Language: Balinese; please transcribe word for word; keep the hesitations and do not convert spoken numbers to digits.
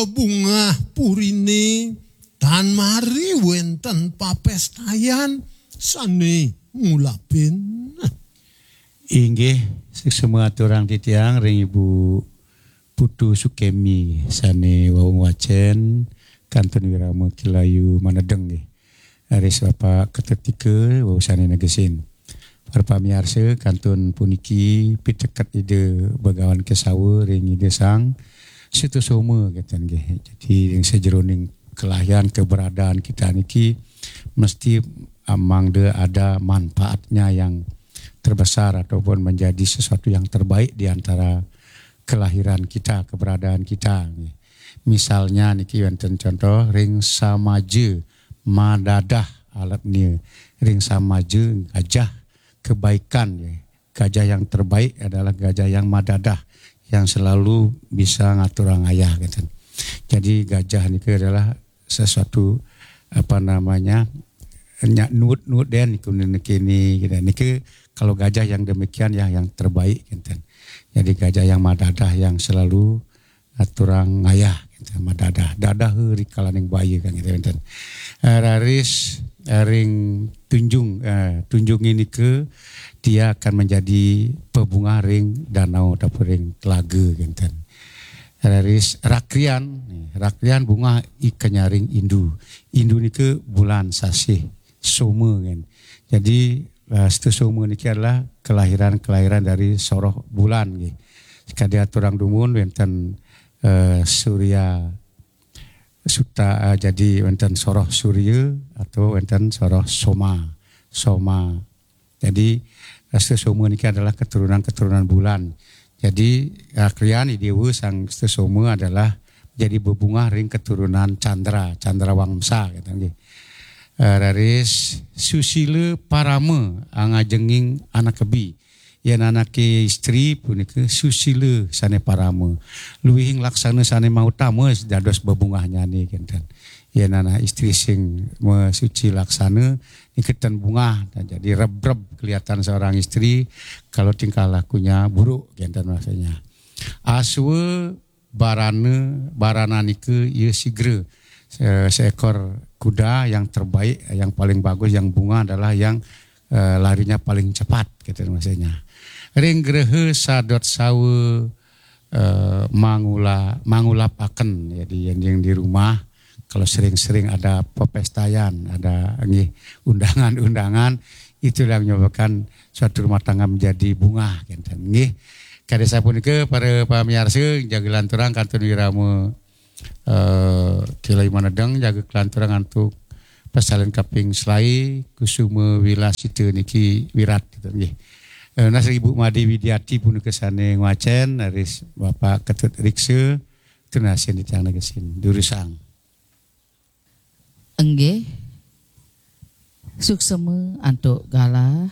bungah purine tan mari wenten papestayan sane ngulapin. Inggih, suksma aturang titiang ring Ibu Putu Sukemi sane wau ngwacen kantun wirama Ki Layu Manedeng nggih. Raris Bapak Ketut Ika wau sane negesin. Para pamiarsa, kantun puniki piteket Ida Bagawan Kesawa ring Ida Sang Sutasoma kenten nggih. Jadi ring sajeroning kelahian keberadaan kita niki mesti mangda ada manfaatnya yang terbesar ataupun menjadi sesuatu yang terbaik di antara kelahiran kita, keberadaan kita. Misalnya niki wenten contoh ring samaja madadah alepnya, ring samaja gajah kebaikan. Gajah yang terbaik adalah gajah yang madadah, yang selalu bisa ngaturang ayah gitu. Jadi gajah niki adalah sesuatu apa namanya nyak nuut-nuut den niku niki ni gitu. Niki kalau gajah yang demikian ya yang terbaik gitu. Jadi gajah yang madadah yang selalu aturang ayah gitu, madadah. Dadah rikalaning baya kan gitu wenten. Eh, raris eh, ring tunjung eh, tunjung ini ke dia akan menjadi pebungah ring danau ataupun ring telaga gitu. Raris rakrian, rakrian bungah ikanyaring indu. Indu nika bulan sasih soma kan. Jadi eh, Sutasoma niki adalah kelahiran-kelahiran dari soroh bulan nggih. Sekadi aturang dumun wenten eh, Surya Suta eh, jadi wenten soroh Surya atau wenten soroh Soma. Soma. Jadi eh, Sutasoma niki adalah keturunan-keturunan bulan. Jadi eh, krian Idewa Sang Sutasoma adalah jadi bebungah ring keturunan Chandra, Chandra Wangsa gitu nggih. Eh, raris susila parama angajenging anak kebi. Yen anake istri punika susila sane parama. Luihing laksana sane mautama dados bebungahnyane kenten. Yen anak istri sing suci laksana niki ten bungah. Nah, jadi rebreb kelihatan seorang istri kalau tingkah lakunya buruk kenten maksudnya. Aswa barana barana nika ya sigra. Se- seekor kuda yang terbaik, yang paling bagus, yang bunga adalah yang eh, larinya paling cepat gitu maksudnya. Ring greha sadot sawa eh, mangula mangulapaken. Jadi yang, yang di rumah kalau sering-sering ada pepestaian, ada nggih undangan-undangan, itulah yang menyebabkan suatu rumah tangga menjadi bunga kenten nggih. Kade sapunika para pamiarsa jaga lanturang kantun wirama eh, Ki Layu Manedeng jaga kelanturang antuk pasalen kaping selai Kusuma Wilasita niki wirat gitu nggih. Eh, nas Ibu Made Widiati punika sane ngwacen, raris Bapak Ketut Riksa tunasin titiang negesin. Durusang. Inggih. Suksema antuk galah